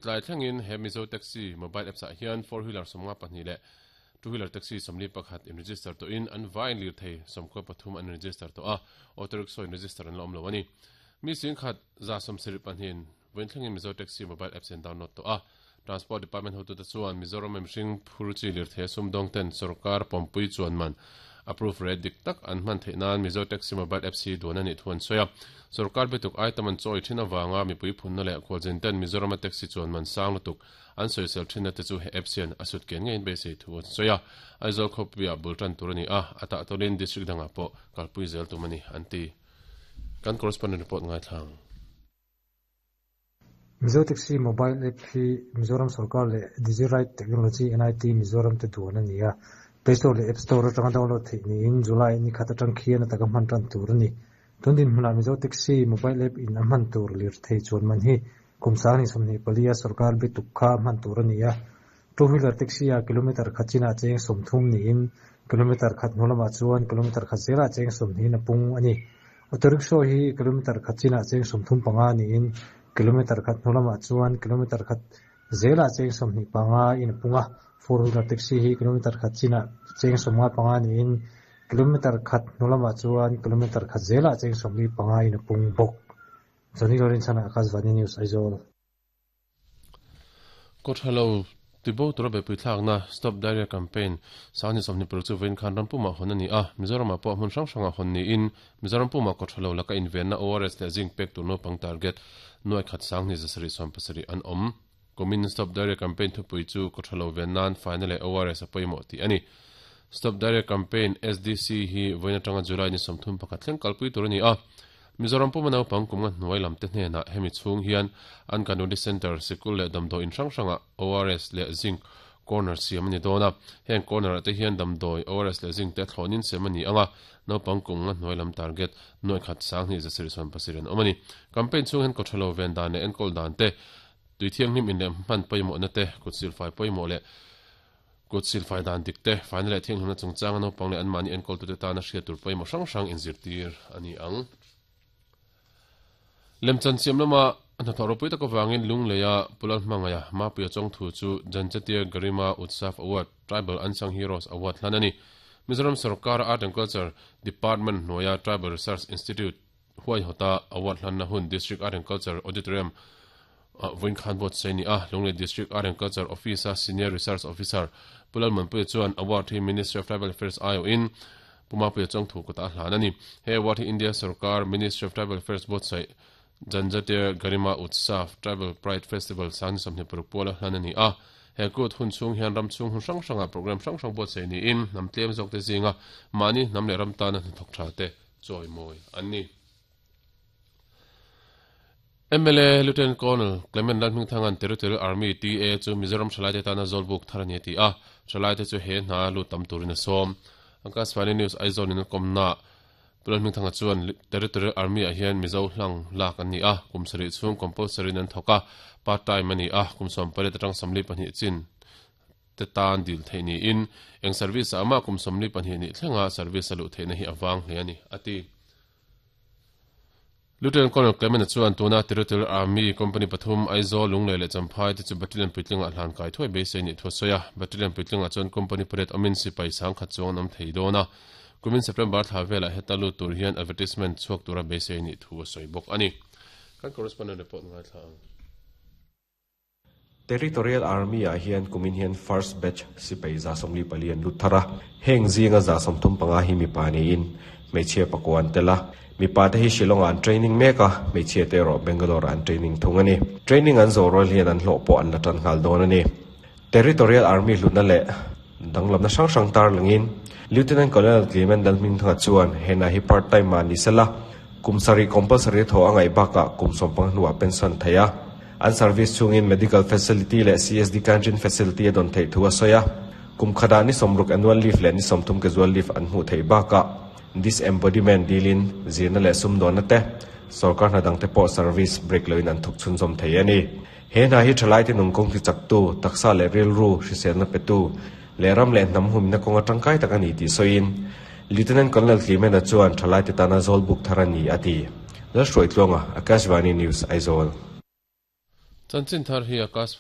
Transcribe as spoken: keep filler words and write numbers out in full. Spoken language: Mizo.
Tlai thlengin he Mizo Taxi mobile apps ah hian four wheeler sawmnga pahnih leh two wheeler taxi sawmli pakhat in register tawhin an vaiin lirthei sawmkua pathum an register tawh a, auto rickshaw in register an la awm lo a ni. Mi singkhat za sawmsarih pahnihin vawiin thlengin Mizo Taxi mobile apps an download tawh a. Transport Department hotute chuan Mizoram mihring phur chi lirthei sumdawng ten sorkar pawmpui chuan man approve rate dik tak an hman theih nan Mizo Taxi mobile apps hi duan a nih thu an sawi a. Sorkar bituk item an chawi thin avanga mipui phunna leh khualzin ten Mizorama taxi chuan man sang lutuk an sawisel thinna te chu he apps hian a sut ken ngeiin beisei thu an sawi a. Aizawl khawpuiah bul tan tur a ni a, a tah tawlin district dangah pawh kalpui zel tum a ni an ti. Kan correspondent report ngaithlang. Mizo Taxi mobile app hi Mizoram sorkar leh Digiride Technology N I T Mizoram te duan a ni a. Play Store leh App Store atanga download theih niin July ni khat atang khian ataka hman tan tur a ni. Tun din hmunah Mizo Taxi mobile app in a hman tur lirthei chuan man hi kum sang ni sawmhnih palia sorkar bituk kha hman tur a ni a. Two wheeler taxi a kilometer khat chinah cheng sawmthum niin kilometer khat hnu lamah chuan kilometer khat zelah cheng sawmhnih a pung a ni. Auto rickshaw hi kilometer khat chinah cheng sawmthum panga niin kilometer khat hnu lamah chuan kilometer khat zelah cheng sawmhnih panga in a pung a. Four wheeler taxi hi kilometer khat chinah cheng sawmnga panga niin kilometer khat hnu lamah chuan kilometer khat zelah cheng sawmli panga in a pung bawk. Johnny Lawrence Akashvani News, Aizawl. Kawthalo tibo tura bepui thlakna Stop Diarrhea Campaign sangni sawmhnih paruk chu vawiin khan rampumah hawn a ni a. Mizoramah pawh hmun hrang hrangah hawn niin Mizoram pumah kawthalo laka invenna O R S leh zinc pek tur naupang target nuai khat sanghnih zasarih sawm pasarih an awm. Kumin Stop Diarrhea Campaign thupui chu kawthalo ven nan faina leh O R S a pawimawh tih a ni. Stop Diarrhea Campaign S D C hi vawiin atanga July ni sawmthum pakhat thleng kalpui tur a ni a. Mizoram puma naupang kum nga hnuai lam te hnenah hemi chhung hian Anganwadi Center, sikul leh damdawi in hrang hrangah O R S leh zinc corner siam a ni dawn a. Heng corner ah te hian damdawi, O R S leh zinc te thlawnin siam a ni anga, naupang kum nga hnuai lam target nuai khat sanghnih zasarih sawm pasarih an awm a ni. Campaign chhung hian kawthalo ven dan leh enkawl dan te, tui thianghlim in leh hman pawimawhna te, kut silfai pawimawh leh kut silfai dan dik te, faina leh thianghlimna chungchanga naupang leh anmahni enkawltute tana hriat tur pawimawh hrang hrang inzirtir a ni ang. Lemchan siam lama hnathawh ropui tak avangin Lungleia Pulal hmangaia Mapuia Chawngthu chu Janjatia Garima Utsav Award, Tribal Unsung Heroes Award hlan a ni. Mizoram Sarkar Art and Culture Department hnuaia Tribal Research Institute huaihawta award hlanna hun District Art and Culture Auditorium vawiin khan buatsaih a ni a. Lunglei District Art and Culture Office a Senior Research Officer Pulal Manpuia chuan award hi Ministry of Tribal Affairs aiawhin Pu Mapuia Chawngthu kutah a hlan a ni. He award hi India Sarkar Ministry of Tribal Affairs buatsaih Janjatia Garima Utsav Tribal Pride Festival sangni sawmhnih paruk puala hlan a ni a. He kut hun chhung hian ram chhung hun hrang hrangah program hrang hrang buatsaih niin hnam tlem zawk te zinga mahni hnam leh ram tana hnathawk tha te chawimawi an ni. M L A Lieutenant Colonel Clement Lalhmingthangan Territorial Army T A chu Mizoram thalai te tana zawlbuk thar a ni a ti a. Thalai te chu he hna lut tam turin a sawm. Akashvani News Aizawl in a kawmna Lalhmingthanga chuan Territorial Army ah hian Mizo hlang lak an ni a, kum sarih chhung compulsory in an thawk a, part time a ni a, kum sawm pariat atang sawmli pahnih chin te tan dil theih niin eng service ah amah kum sawmli pahnih nih thlenga service a luh theihna hi a vang hle a ni a ti. Lieutenant Colonel Clement chuan tuna Territorial Army Company pathum Aizawl, Lunglei leh Champhai te chu Battalion puitlingah hlan kai thuai beisei ni thu a sawi a. Battalion puitlingah chuan company pariat awmin sipai sang khat chuang an awm thei dawn a. Kumin September thla velah heta lut tur hian advertisement chhuak tura beisei ni thu a sawi bawk a ni. Kan correspondent report ngaithla ang. Territorial Army ah hian kumin hian first batch sipai za sawmli pali an lut thar a. Heng zinga za sawmthum panga hi mipa niin hmeichhia pakua an tel a. Mipa te hi Shillong ah an training mek a, hmeichhia te erawh Bangalore ah an training thung a ni. Training an zawh rual hian an hlawh pawh an la tan nghal dawn a ni. Territorial Army hlutna leh danglamna hrang hrang tar langin Lieutenant Colonel Clement Lalhmingthanga chuan hena hi part time ah ni sela kum sarih compulsory thaw a ngaih bakah kum sawmpang hnuah pension thei a. An service chungin medical facility leh C S D canteen facility a dawn theih thu a sawi a. Kum khatah ni sawmruk annual leave leh ni sawmthum casual leave an hmuh theih bakah disembodiment dilin zirna leh sumdawnna te sarkar hna dang te pawh service break loin an thawk chhunzawm thei a ni. He hna hi thalai te nung kawng ti chaktu, taksa leh rilru hriselna petu leh ram leh hnam humna kawnga tangkai tak a ni tih sawiin Lieutenant Colonel Clement chuan thalai te tana zawlbuk thar a ni a ti. Lalhruaitluanga, Akashvani News, Aizawl. Chanchin thar hi Akashvani.